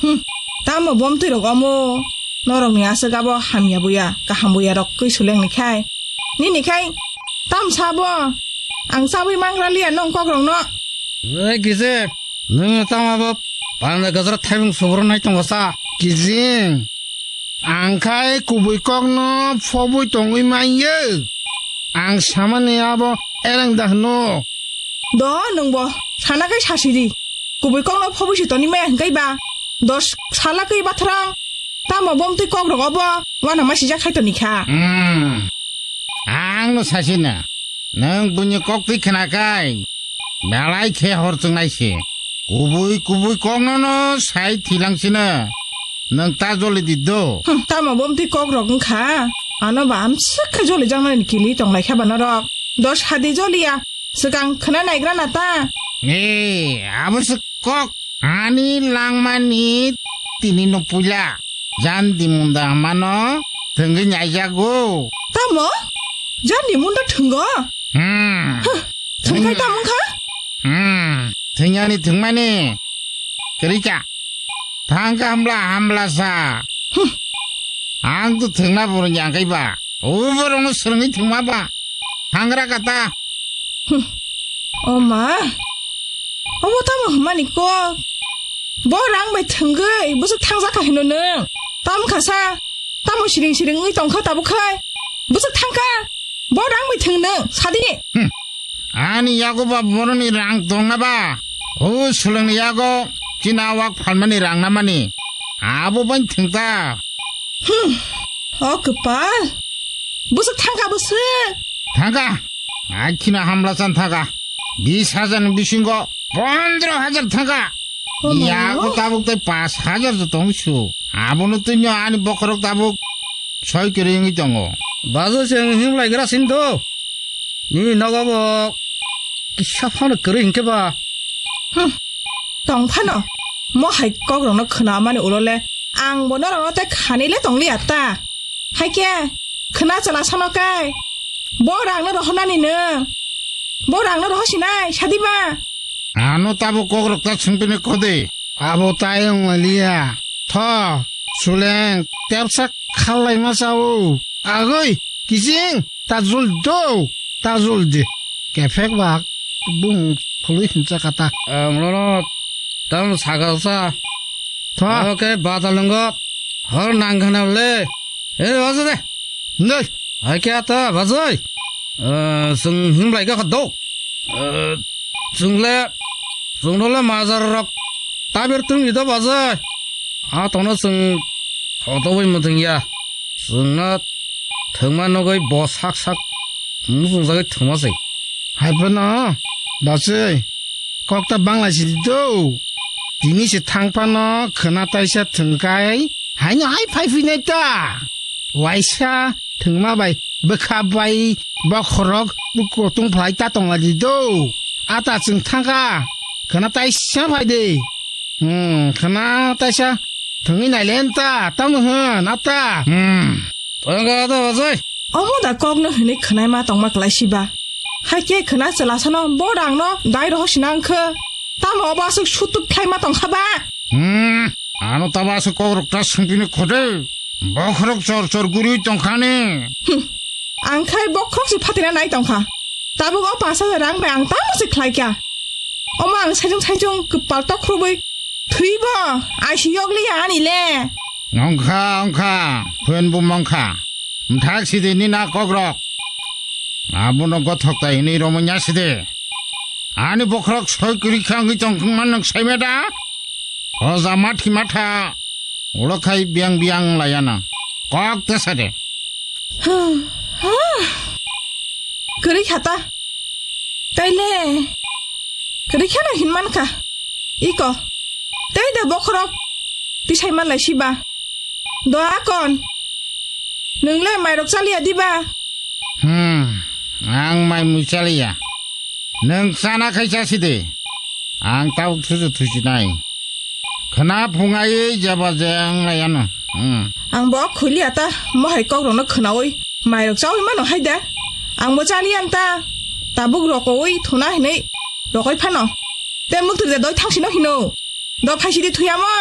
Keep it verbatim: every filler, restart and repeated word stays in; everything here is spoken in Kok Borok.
Hmm, tamo bomtwi rok omo? Norok ni aswk abo hamya buya, kaham buya rok kwi suleng ni khai. Nini khai, tam sabo? Ang chabwi mangra liya nong kok rok no. Oi kise, nwng tamo abo panda gajra thaibung soboro nai tongo sa? Kijing, ang khai kubui kok no phobwi tongwi manya. Ang samani abo ereng da hwno. Do, nwngbo sana kai sasidi. Kubui kokno phobwi si toni maya hwnkhe ba. Dos sala kwi bathrang. Tamo bomtwi kok rok obo. Wana ma sijak khai toni kha. Hmm. Ang no sasina. Nwng buini kok twi khna kai. Belai khe hor chwngnai se. Kubui kubui kokno no sai thilang sina. Nwng ta joli di do. Hmm, tamo bomtwi kok rok wngkha. Ano ba amswk khe joli jaknani kili tonglai kha ba norok. Dos hadi joliya. Swkang khwna naigra na ta? Ee, abo se kok. Ani langmani tini no puila. Jandi munda mano thwngwi naijago. Tamo? Jandi munda thwngo? Hmm. Huh, thwngkhai tamo wngkha? Hmm. Thwngyani thwngmani. Kwrwi kha. Thangkha hambla hambla sa. Hmm. Ang to thwngna borok yang kai ba. O borok no swrwngwi thwngma ba. Thangra kata. Hmm. O ma. Obo tamo hwnmani kok. Bo rang bai thwngwi bwswk thangjak kha hino nwng. Tam kha sa. Tamo siring siring wngwi tongkha tabuk khai. Bwswk thangkha. Bo rang bai thwng nwng. Sadi. Hmm. Ani yago ba boroni rang tongna ba? O swlwngni yago chini awak phalmani rang namani. Abo bai thwngta. Hmm. O kwpal. Bwswk thangkha bwswk. Thangkha. Akhino hamla chan thangkha. Bis hajar ni bisingo pondro hajar thangkha. Oh my Yago God. Tabuk tai pas hajar jo tong su. Abono twi ani bokhorok tabuk soi kwrwi wngwi tongo. Bajo se wng himlai gra sin do. Nini nogo bo kisa phano kwrwi hinkhe ba. Hmm. Tong phano. Mo hai kok rokno khna mani ulo le. Ang bo norok no tei khani le tong liya ta. Hai khe khna chala sano kai. Bo rang no rohor nani no. Bo rang no rohor sinai sadi ba. Ano tabo kok rok ta sungpini kode. Abo tai wng liya. Tho, suleng, tepsa khalai ma sao. Agoi, kising, tajul do, tajul de. Kefek bak, bung khului hincha kata. Amlono, tam sagal sa. Tho. Oke, batal nunggo. Hor nang khana le. Eh, bajo de. Nei. Hai kya ta, bajoi? Eh, sung him lai ka do. Eh, sung le, sung le majar rok. Tabir tung ido bajoi. A tono sung hoto bai mutung ya. Sung na thangma nogoi bo sak sak. Musung jagai thangma sai. Hai phano, bajoi. Kokta bangla si do. Tini se thang phano khwna taisa thwngkai. Haino hai phai phinai ta. Waisa thwngma bai bwkha bai bokhorok buko tong phlai ta tongla di do. Ata chwng thangkha. Khwna taisa phai de. Hmm, khwna taisa thwngwi nai len ta. Tamo hwn ata. Hmm. Thangkha ata bajai. Omo da kokno hwnwi khwnai ma tongma klai siba. Hai khe khwna chwla sano bo rang no dai roho sinang khe. Tamo obo aswk sutuk khlai ma tong kha ba? Hmm, ano tamo aswk kok rok ta sungpini khode. Bokhorok chor chor guri tong kha ni. Hmm, ang khai bokhorok se phatina nai tong kha. Tabuk o pash hajar rang bai ang tamo se khlai kya. Omo ang saijung saijung kwpal tok khrubui thwi bo I C U yok li ani le. Ongkha, ongkha, phen bu mongkha. Mthak sidi ni na kokrok. Abono gothok ta hinwi romwi nya sidi. Ani bokhorok soi kwrwi kha wngwi tong khwngma nwng saimada. Hoja mathi matha. Ulo khai biang biang layana. Kok te sade. Kwrwi khata. Taile. Kwrwi khana hinman kha. Iko. Tei da bokhorok. Tisai man lai siba. Do akon. Nwng le mairok chaliya diba? Hmm, ang mai mui chaliya. Nwng chana khai chasi de. Ang tabuk thuju thusi nai. Khwna phungai jaba je ang lai ano. Hmm. Ang bo khuiliya ta mohai kok rokno khwnawi mairok chawi mano hai de. Ang bo chaliya ta. Tabuk rokowi thuna hinwi rokoi phano. Te mukthuk de doi thangsino hino. Do phaisidi thuyamo.